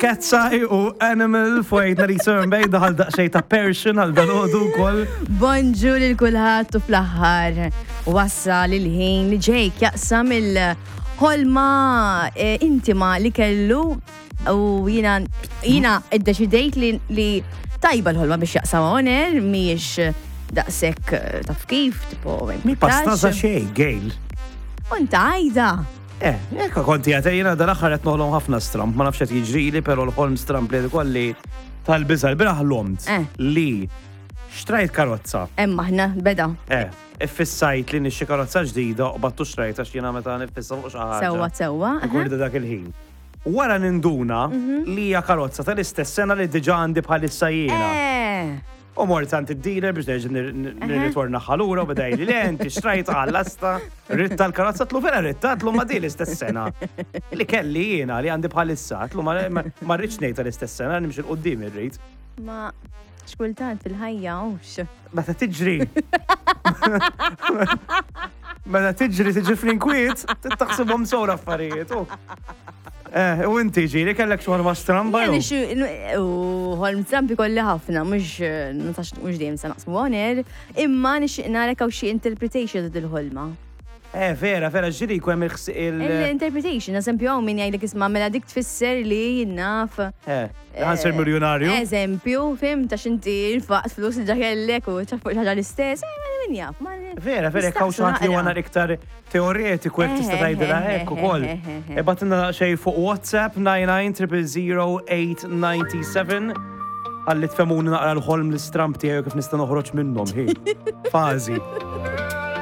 Katseye u Animal fwejtna li Sir Mbej daħal daqsxejn ta' Persian għal dal-għodu wkoll. Bonġu lil kulħadd u fl-aħħar wassal il-ħin li Jake jaqsam il-ħolma eh, intima li kellu u jina jina iddeċidejt li, li tajba l-ħolma biex jaqsam on air mhijiex daqshekk eh, taf kif tipo Mi pastaza xejn, Gail. Unta għajda. Eh, jekk konti għate jena dal-axħar qed noħlom ħafna stramp, ma nafx qed jiġrili, però l-ħolm stramp li kolli tal-biża' l-bieraħ ħlomt Eh. li xtrajt karozza. Emma ħna beda. Eh, iffissajt li nixxi karozza ġdida u battu xtrajt għax jiena meta nifissa fuq xi ħaġa. Sewwa sewwa. Ikun dak il-ħin. Wara ninduna li hija karozza tal-istess sena li diġà għandi bħalissa jiena. Eh. U mort għand id-dealer biex nerġa' nirritorna lura u beda jgħidli le inti xtrajt għall-asta, ritta l-karozza tlu vera ritta tlu ma di l-istess sena. Li kelli jiena li għandi bħalissa, tlu ma ma rridx ngħid tal-istess sena nimxi 'l quddiem irrid. Ma xkultant fil-ħajja hux. Meta tiġri. Meta tiġri tiġi fl-inkwiet, taħsibhom sew l-affarijiet. u. Eh, u inti ġiri kellek xi ħolma stramba Jien jew? ixu- U ħolm strambi kolli ħafna, mhux mhux dejjem se naqsmu on air, imma nixtieq narek hawn xi interpretation ta' dil-ħolma. Eh, vera, vera, ġiri jkun hemm il- Il-interpretation, eżempju, hawn min jgħidlek isma' mela dik tfisser li naf. Eh, ħa nsir miljonarju. Eżempju, fim ta' xinti nfaqt flus li ġakellek u ċaf fuq xi ħaġa l-istess, eh, ma min jaf. ma- Vera, vera, jekk hawn xi ħadd li huwa nistaqsu nar iktar teoretiku jekk tista' Eh, tgħidilha eh, hekk eh, ukoll. eh, eh, eh. Ibgħatilna xejn fuq WhatsApp 99 Għalli tfemuni naqra l-ħolm l-istramp tiegħi u kif nista' noħroġ minnhom hi. Fażi.